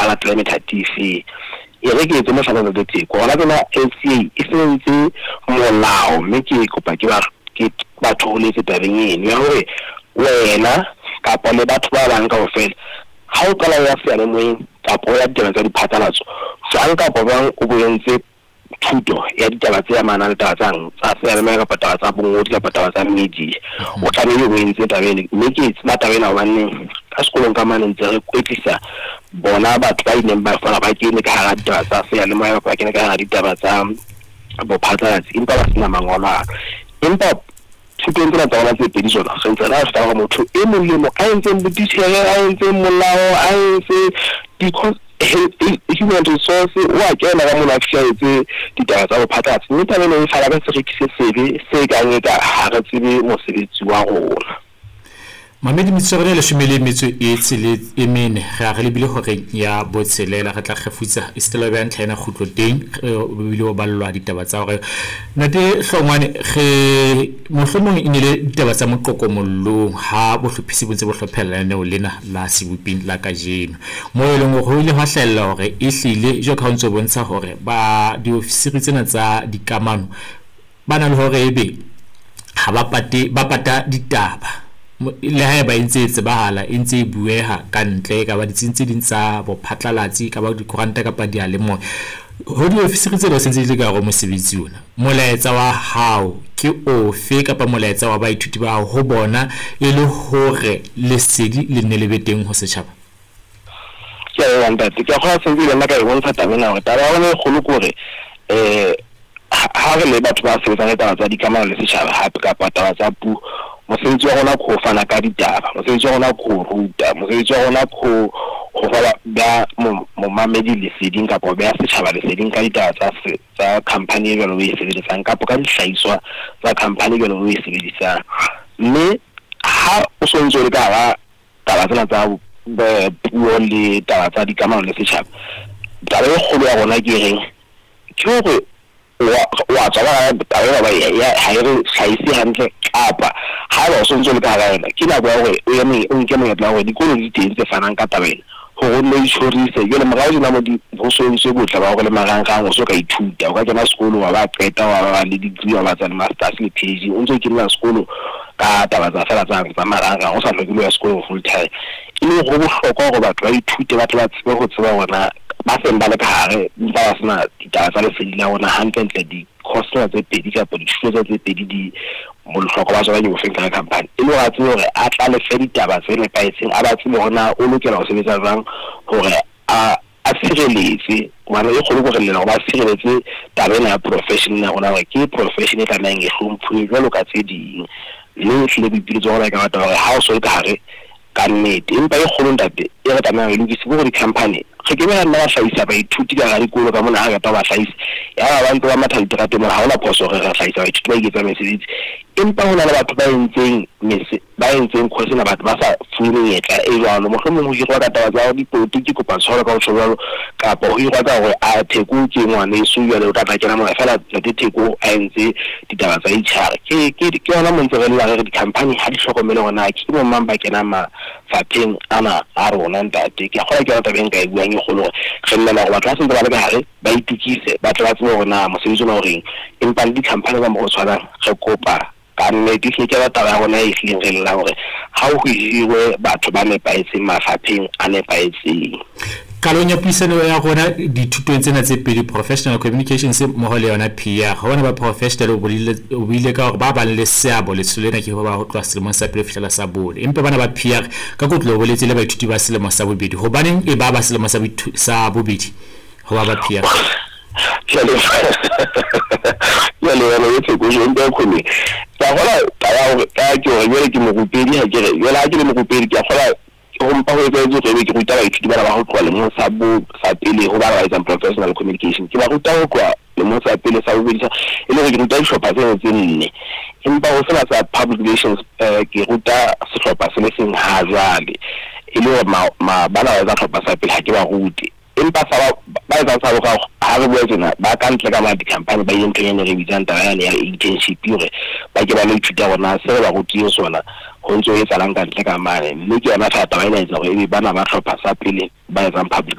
latele methati efeng. E re ke etse mohlala Ntate Theko, hona tjena LCA e se entse molao mme ke kopa ke ba ke ba thoholetse tabeng eno ya hore wena kapa le batho ba bang kaofela ha o qala o ya seyalemoyeng kapa o ya ditaba tsa diphatlalatso jwang kapa jwang o bo entse thuto ya ditaba tse amanang le taba tsang tsa seyalemoya kapa taba tsa bongodi kapa taba tsa media, o tlamehile o entse taba ena. Mme ke tseba taba ena hobaneng ka sekolong ka mane ntse re kwetlisa bona batho ba ileng ba fela ba kene ka hara ditaba tsa seyalemoya kapa ba kene ka hara ditaba tsa bophatlalatsi empa ba sena mangolo ano. Empa thutong tsena tsa rona tse pedi tsona re ntse re fihla hore motho e mong le mong a entseng botitjhere, a entseng molao, a entse human resource, o a kena ka mona a fihla etse ditaba tsa bophatlalatsi. Mme taba ena e fana ka seriti se sebe se kang eka ha re tsebe mosebetsi wa rona. Mamedi metsotso ya leshome le metso e tshele e mene re a re lebile horeng ya botshelela re tla kgefutsa e sitela beha ntlha ena kgutlo teng o bile o ballwa ditaba tsa hore Ntate Hlongwane re mohlomong e ne le ditaba tsa moqoqo mollong ha bohlophisi bo ntse bo hlophela lenaneo lena la seboping la kajeno moo e leng hore ho ile hwa hlahella hore e hlile jwalo ka ha o ntse o bontsha hore ba diofisiri tsena tsa dikamano ba na le hore ebe ha ba pate ba pata ditaba le haeba e ntse e tsebahala e ntse e bueha ka ntle e ka ba ditsing tse ding tsa bophatlalatsi e ka ba dikoranta kapa diyalemoya ho diofisiri tsena se ntse di le ka hare ho mosebetsi ona molaetsa wa hao ke ofe kapa molaetsa wa baithuti ba hao ho bona e le hore lesedi le nne le be teng ho setjhaba? Ke a leboha ntate. Ke a kgolwa sentse le nna ka e bontsha taba ena hore taba ya rona e kgolo ke hore ha re le batho ba sebetsang le taba tsa dikamano le setjhaba hape kapa taba tsa puo, mosebetsi wa rona ke ho fana ka ditaba, mosebetsi wa rona ke ho ruta, mosebetsi wa rona ke ho fa beha momamedi leseding kapa ho beha setjhaba leseding ka ditaba tsa tsa company e jwalo o e sebeletsang kapa ka dihlahiswa tsa company e jwalo o e sebedisang. Mme ha o so ntso le ka hara taba tsena tsa puo le taba tsa dikamano le setjhaba, taba e kgolo ya rona ke reng ke hore wa tswa ka hara taba ena hoba ha e re hlahise hantle kapa haeba o sontso o le ka hara yona ke nako ya hore o eme o nke monyetla wa hore dikolo di teng tse fanang ka taba ena hore o nno itjhorise. Jwale morao tjena mo di ho so entswe botle ba hore le marangrang o so ka ithuta, o ka kena sekolo wa ba qeta wa ba le degree wa ba tsa le masters le PhD o ntso kenela sekolo ka taba tsa fela tsa tsa marangrang o sa hloke le ho ya sekolong full time. E le hore ho bohlokwa hore batho ba ithute ba tle ba tsebe ho tseba hore na ba seng ba le ka hare empa ba sena ditaba tsa lesedi la rona hantlentle di-course tsena tse pedi kapa dithuto tsena tse pedi di bohlokwa ba tsona ke bofeng ka company. E le hore a tsebe hore a tla lefe ditaba tse nepahetseng, a ba tsebe hore na o lokela ho sebetsa jwang hore a a sireletse hobane e kgolo ke hore lena hore ba sireletse taba ena ya profession ena ya rona hore ke profession e tlamehang e hlomphuwe jwalo ka tse ding. Mme ehlile boipiletso ba rona e ka ba taba hore ha o so le ka hare ka nnete. Empa e kgolo ntate e re tlamehang re lokise ke hore di-company re ke be ra nna ra hlahisa baithuti ka hara dikolo ka mona ha re qeta ho ba hlahisa yaba ba ntse ba matha diterateng mona. Ha hona phoso hore re hlahisa baithuti ba iketsang mesebetsi, empa ho na le batho ba entseng ba entseng course ena batho ba sa fuwe menyetla e jwalo. Mohlomong ho hirwa ka taba tsa dipolotiki, kopa tshwarelo ka ho tjho jwalo, kapa ho hirwa ka hore a Theko ke ngwaneso jwale o tla tla kena mona feela ntate Theko a entse ditaba tsa H_R. Ke yona mo ntse re lla re re di-company ha di hlokomele hore na ke bo mang ba kenang mafapheng ana a rona ntate. Ke a kgolwa ke yona taba e nka e buang e kgolo hore re llela hore batho ba sentse ba le ka hare ba itukise ba tle ba tsebe hore na mosebetsi ona o reng. Empa le di-company ka mokgwa o tshwanang re kopa ka nnete ehlile ke yona taba ya rona e hlileng re llang hore ha ho hirwe batho ba nepahetseng mafapheng a nepahetseng. Qalong ya puisano ya rona dithutong tsena tse pedi, Professional Communications mmoho le yona PR, ho bona ba professional o buile ka hore ba bang le seabo letsholo lena ke ho ba ho tloha selemong sa pele ho fihlela sa bone. Empa bana ba PR ka kotlo o boletse le baithuti ba selemo sa bobedi. Hobaneng e ba ba selemo sa bobedi ho ba ba PR? Jwale jwale jwale e Theko jo mpe khone. Ke a kgolwa taba ya hore ka ke hore jwale ke morupedi ha ke re jwale ha ke le morupedi ke a kgolwa ho mpa ho etsahetse hore ebe ke ruta baithuti bana ba ho tloha lemong sa bo sa pele ho bana ba etsang professional communication. Ke ba ruta ho tloha lemong sa pele sa bobedi sa e le hore ke ruta dihlopha tseno tse nne. Empa ho sena sa public relations ke ruta sehlopha se le seng ha jwale. E le hore bana ba etsa hlopha sa pele ha ke ba rute. Empa sa ba etsang sa boraro ha re bua tjena ba ka ntle ka mane di-company ba ile nthong ene re bitsang taba yane ya internship hore ba ke ba lo ithuta hore na se re ba rutileng sona ho ntso ho etsahalang ka ntle ka mane. Mme ke yona feela taba ena e etsa hore ebe bana ba hlopha sa pele ba etsang public.